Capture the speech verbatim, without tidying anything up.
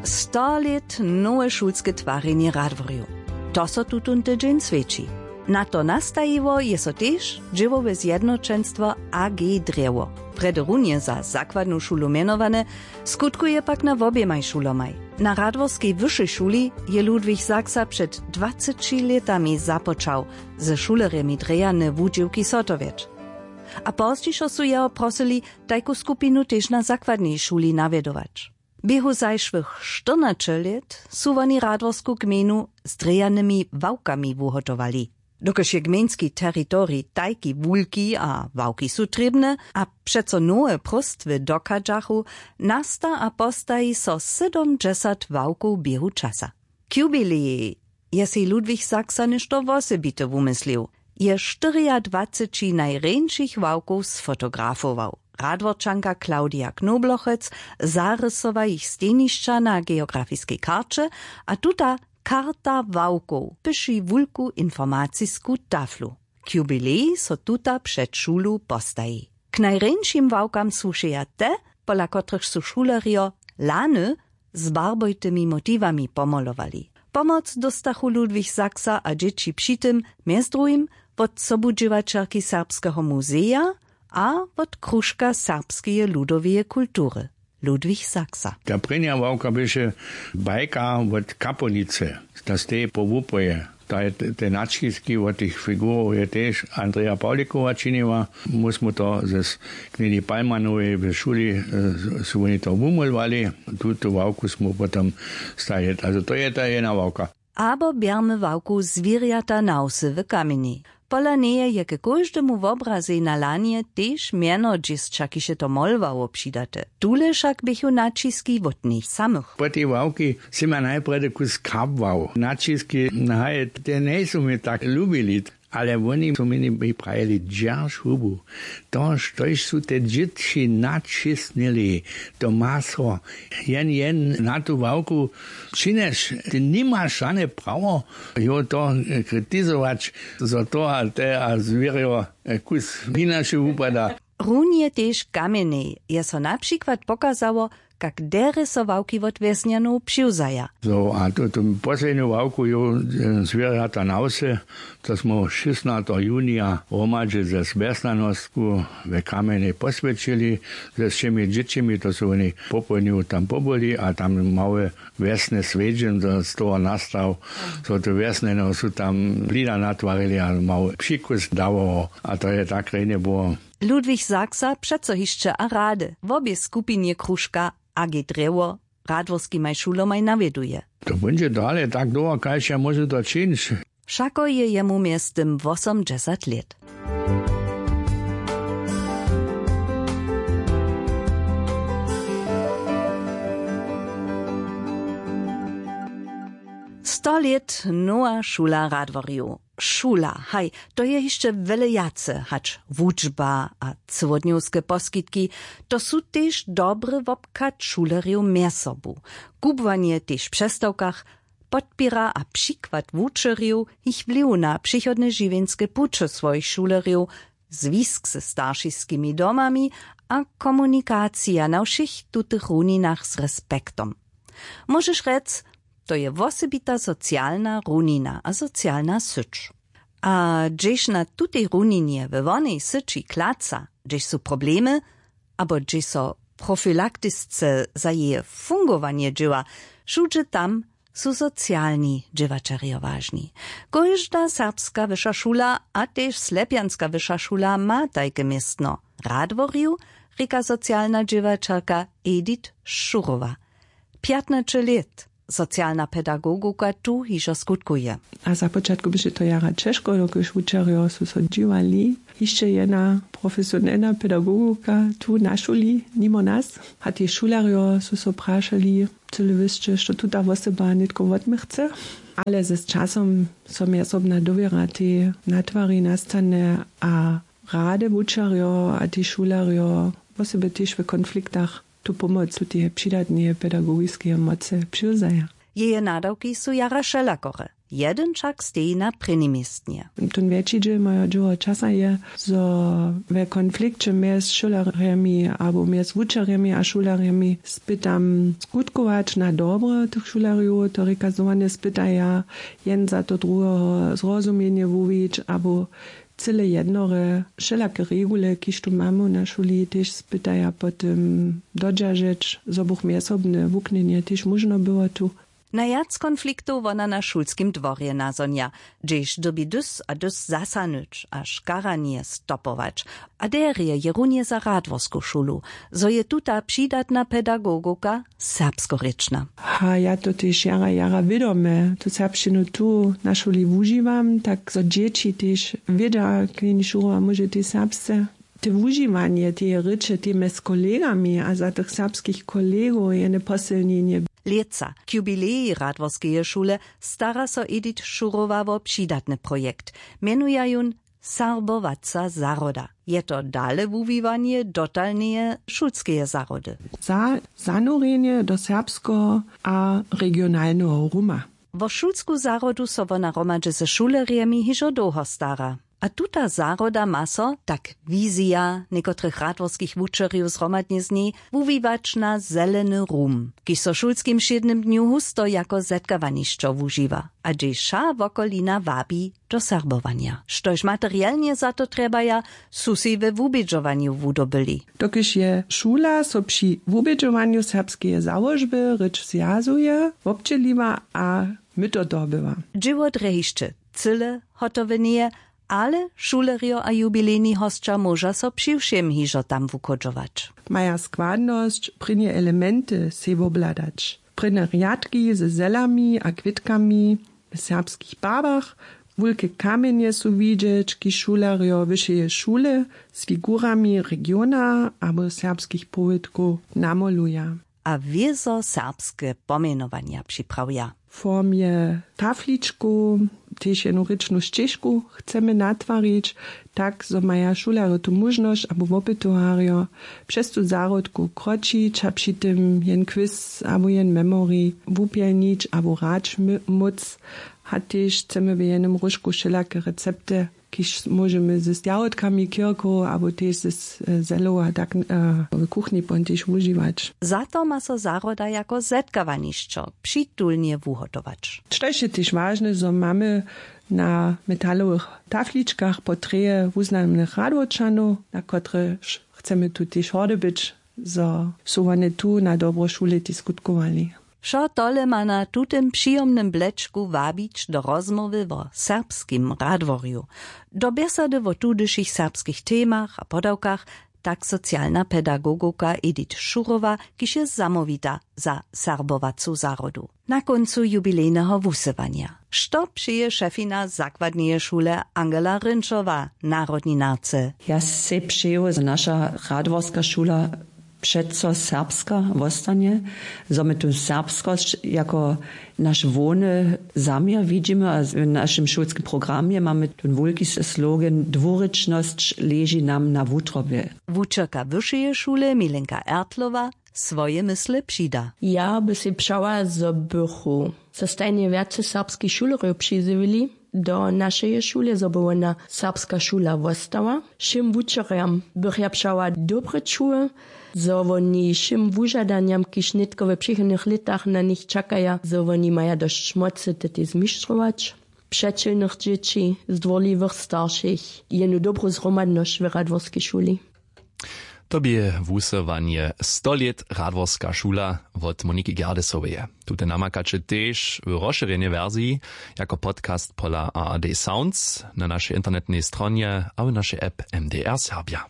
Sto lět nowe šulske twarjenje radworjow, to so tutón tydźeń swjeći. Na to nastajiło je so tež dźěłowe zjednoćenstwo AG Drjewo, prjedy runje za zakładnu šulu mjenowane, skutkuje pak na woběmaj šulomaj. Na radworskej wyšej šuli je Ludwig Sachsa před dwaceći lětami započał ze šulerjemi drejane wudźěłki zhotowjeć. A pozdźišo su jeho prosyli, tajku skupinu tež na zakładnej šuli nawjedować. Běhu zašłych štyrnaće lět su woni radworsku gmejnu z drejanymi ławkami wuhotowali. Dokelž je gmejnski teritorij tajki wulki a ławki su trěbne a přeco nowe próstwy dochadźachu, nasta a postaji so sydomdźesat ławkow běhu časa. K jubilejej je sej Ludwig Sachsa něšto wosebite wumyslił. Je štyriadwaceći najrjeńšich ławkow sfotografował. Radworčanka Claudia Knoblochec zarysowa jich stejnišća na geografiskej karće, a tuta karta ławkow pyši wulku informacisku taflu. K jubilejej so tuta před šulu postaji. K najrjeńšim ławkam słušeja te, pola kotrychž su šulerjo lany z barbojtymi motiwami pomolowali. Pomoc dóstachu Ludwig Sachsa a dźěći při tym mjez druhim wot sobudźěłaćerki Serbskeho muzeja a wot Kružka serbskeje ludoweje kultury Ludwig Sachsa. Ta prěnja ławka běše bajka wot Kapownicy, ta steji po wupoje. To je te, te naćiski wot tych figurow je tež Andreja Pawlikowa činiła. My smy to z knjeni Palmanowej w šuli, e, su woni to wumolowali. Tutu ławku smy potom stajili. Also to je ta jedna ławka. Abo bjermy ławku Zwěrjata na wsy w Kamjenjej. Pola njeje je k kóždemu wobrazej na lanje tež mjeno dźěsća, kiž je to molowało, přidate. Tule wšak běchu naćiski wot nich samych. Po tej ławki sym ja najprjedy kus kabłał. Naćiski, haj, te njejsu mi tak lubili, ale woni su mi prajili: Dźerž hubu. To, štož su te dźěći naćisnyli, to ma so jen, jen na tu ławku činješ. Ty nimaš žane prawo jo to, e, kritizować, zo to a te a zwěrjo, e, kus hinaše wupada. Runje tež w Kamjenjej je so na přikład pokazało, kak derje so ławki wot wjesnjanow přiwzaja. Zo, a tu, tu poslednju ławku jo, e, Zwěrjata na wsy, to smy šěsnateho junija hromadźe ze Wjesnjanostku w Kamjenjej poswjećili ze wšěmi dźěćimi, to su woni popołdnju tam pobyli a tam małe wjesne swjedźeń z, z toho nastał. So te wjesnjanow su tam blida natwarili a mały přikus dawało. A to je tak rjenje było. Ludwig Sachsa přeco hišće a rady wobě skupinje Kružka A G Drjewo radworskimaj šulomaj nawjeduje. To póńdźe dale tak dołho, kaž ja móžu to čińć. Wšako je jemu mjeztym wosomdźesat lět. Sto lět nowa šula radworjow. Šula, haj, to je hišće wjele wjace hač wučba a cyłodnjowske poskitki. To su tež dobry wobchad šulerjow mjez sobu. Kubłanje tež w přestawkach podpěra a přikład wučerjow, jich wliw na přichodne žiwjenske puće swojich šulerjow, zwisk ze staršiskimi domami a komunikacija na wšěch tutych runinach z respektom. Móžeš rjec, to je wosebita socialna runina a socialna syć. A hdźež na tutej runinje we wonej syći klaca, hdźež su problemy, abo hdźež so profilaktisce za jeje fungowanje dźěła, wšudźe tam su socialni dźěłaćerjo wažni. Kóžda serbska wyša šula a tež slepjanska wyša šula ma tajke městno. Radworju, rěka socialna dźěłaćerka Edith Šurowa. Pjatnaće lět socialna pedagogika tu hižo skutkuje. A za počatku běše to jara ćežko, dokelž wučerjo su so dźiwali. Hišće jedna profesionelna pedagogika tu na šuli nimo nas. A tež šulerjo su so prašali, cyle wěsće, što tuta wosoba nětko wot mych chce. Ale z časom so mjezsobna dowěra tej natwari nastanje a rady wučerjo a tež šulerjo wosebje tež w konfliktach tu pomoc tuteje přidatneje pedagogiskeje mocy přiwzaja. Jeje nadawki su jara wšelakore. Jedyn wšak steji na prěnim městnje. Tón wjetši dźěl mojeho dźěło časa je, zo we konflikće mjez šulerjemi abo mjez wučerjemi a šulerjemi spytam skutkować na dobro tych šulerjow, to rěka zo wone spytaja jen za to druheho zrozumjenje wuwić abo cyle jednore wšelake regule kiž tu mamy na šuli tež spytaja po tym dodźeržeć zo buch mjezsobne wuknjenje tež móžno było tu. Najwjac konfliktow wona na šulskim dworje nazhonja, hdźež dyrbi dys a dys zasahnyć a škaranje stopować. A derje je runje za radworsku šulu, zo je tuta přidatna pedagogowka serbskorěčna. Ha ja to tež jara jara wědome tu serbšćinu tu na šuli wužiwam tak zo dźěći tež wěda kleni šurowa móže tež serbsce. Te wužiwanje teje rěče tej mjez kolegami a za tych serbskich kolegow je njeposylnjenje. Lětsa k jubileji radworskeje šule stara so edit šurowa wo přidatny projekt. Mjenuja jón serbowaca zahroda. Je to dale wuwiwanje dotalneje šulskeje zahrody. Za zanorjenje do serbskeho a regionalneho ruma. Wo šulsku zahrodu so wona hromadźe ze šulerjemi hižo dołho stara. A tuta zahroda ma so tak wizija někotrych radworskich wučerjow zhromadnje z njej wuwiwać na zeleny rum, kiž so w šulskim wšědnym dnju husto jako zetkawanišćo wužiwa a hdźež wša wokolina wabi do serbowanja, štož materielnje za to trjebaja, su sej we wubědźowanju wudobyli. Dokelž je šula so při wubědźowanju serbskeje załožby rěč zwjazuje wobdźěliła a myto dobyła. Dźěło drje hišće cyle hotowe njeje, ale šulerjo a jubilejni hosća móža so přiwšěm hižo tam wuchodźować. Maja składnosć prěnje elementy sej wobhladać, prěnje rjadki ze zelami a kwětkami, w serbskich barwach, wulke kamjenje su widźeć kiž šulerjo wyšeje šule z figurami regiona abo serbskich powědkow namoluja. A wězo serbske pomjenowanja připrawiła w formje tafličkow. Tež jednu rěčnu šćežku chcemy natwarić, tak zo maja šulerjo tu móžnosć abo wopytowarjo přez tu zahrodku kročić a při tym jen kwis abo jen memorij wupjelnić abo hrać móc. A tež chcemy w jenym róžku wšelake recepty, kiž móžemy ze stjawodkami kirkow abo tež ze zelowa tak w kuchni pon tež wužiwać. Za to ma so zahroda jako zetkawanišćo přitulnje wuhotować. Štož je tež wažne zo mamy na metalowych tafličkach portreje wuznamnych radworčanow, na kotrež chcemy tu tež hordy być, zo su wone tu na dobro šule diskutkowali. Wšo tole ma na tutym přijomnym blečku wabić do rozmołwy wo serbskim radworju, do bjesady wo tudyšich serbskich temach a podawkach, tak socialna pedagogowka edit šurowa, kiž je zamołwita za serbowacu zahrodu. Na kóncu jubilejneho wusyłanja što přeje šefina zakładneje šule angela rynčowa narodninarce? Ja sej přeju zo naša radworska šula přeco serbska wostanje, zo my tu serbskosć jako naš hłowny zaměr widźimy a w našim šulskim programje mamy tón wulki slogan dwurěčnosć leži nam na wutrobje. Wučerka wyšeje šule milenka ertlowa swoje mysle přida. Ja by sej přała zo bychu so stajnje wjace serbskich šulerjow přizjewili do našeje šule zo by wona serbska šula wostała. Wšěm wučerjam bych ja přała dobre čuwy, zo woni wšěm wužadanjam kiž nětko w přichodnych lětach na nich čakaja zo woni maja dosć mocy te tej zmištrować, přećelnych dźěći, zdwórliwych staršich, jenu dobru zhromadnosć w radworskej šuli. To bě wusyłanje sto lět radworska šula wot moniki gerdesoweje. Tute namakaće tež w rozšěrjenej wersiji jako podcast pola ard sounds na našej internetnej stronje a w našej app mdr serbja.